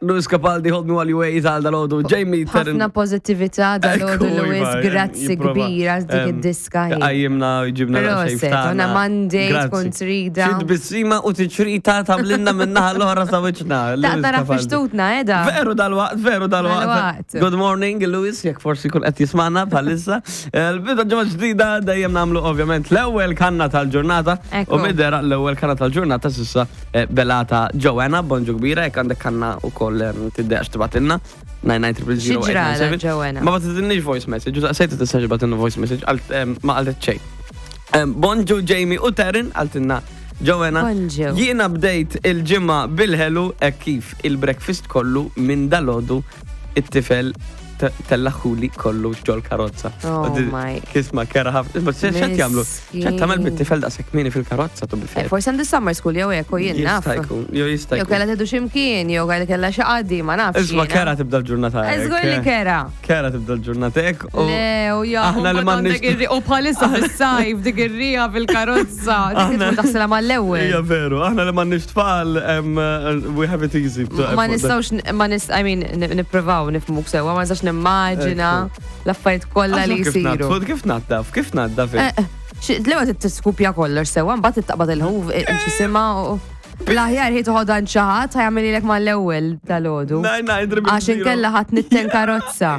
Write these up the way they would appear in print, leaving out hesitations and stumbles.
Louis Capaldi, Hold Me While You Wait, għal dal-ħodu, Jamie Terren. Ħafna pozittività dal-ħodu, Ekku, Louis, Iva, grazzi jipprova, kbira dik id-diska. hi. Għajjimna, ġibna Proset, on a Monday tkun trida. Xi tbissima u tiċrita tamlinna minnaħa l-oħra sa wiċċna. Ta' Louis tara Capaldi. fixtutna, edha. Veru dal-waqt, veru dal-waqt. Dal-waqt. Good morning, Louis, jekk forsi kun qed jismana bħalissa. L-bidu ġimgħa ġdida dejjem nagħmlu ovvjament l-ewwel kanna tal-ġurnata. Ekku. U midera l-ewwel kanna tal-ġurnata s'issa eh, Belata Joanna, bonġu kbira, jekk għandek kanna u koll tiddeqx tibatilna. 99000 Xi ġrala, Joanna? Ma batitilniex voice message, u sejta tistax batilna voice message, ma qaltet xejn. Bonġu Jamie u Taryn, għaltinna Joanna. Bonġu. Jiena bdejt il-ġimgħa bil-ħelu hekk kif il-breakfast kollu minn dalodu it-tifel tellaħuli kollu ġol karozza. Oh my. Kisma kera ħafna. Isma' x'qed jagħmlu? X'qed tagħmel bit-tifel daqshekk kmieni fil-karozza tu Eh, bifel. Forsi għandu summer school jew hekk u jien naf. Jista' jkun, jew jista' Jew jkun. kellha tgħidu x'imkien, jew kellha kellha xi qadi, ma nafx. Isma' jiena. kera tibda l-ġurnata. Eh, hekk, Żgur li eh. kera. Kera tibda l-ġurnata hekk u Le, u ja, aħna li m'għandniex. U bħalissa fis-sajf dik ir-rija fil-karozza, dik tkun taħsilha mal-ewwel. Hija veru, aħna li m'għandniex tfal, eh, we have it easy. Ma nistgħux, ma nist, I mean, nippruvaw nifhmuk sewwa, ma nistax nimmaġina l-affarijiet kollha li Kif jsiru. naddaf, kif naddaf, kif naddaf. Eh, eh, L-ewwel tiskupja kollox sewwa, mbagħad taqbad il-ħuf xisimha u l-aħjar hi toħodha għand xi ħadd ħajamililek mal-ewwel dal-għodu. Għax inkella ħadd nitten karozza.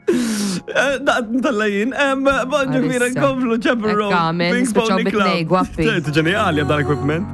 Eh, Daqt ntallajin, bonġu kbira Għalissa. nkomplu Chapel Ekk Road. għamel, Pink nispiċċaw Pony bit-tnej, Club. gwappi. Ġenjali dan equipment.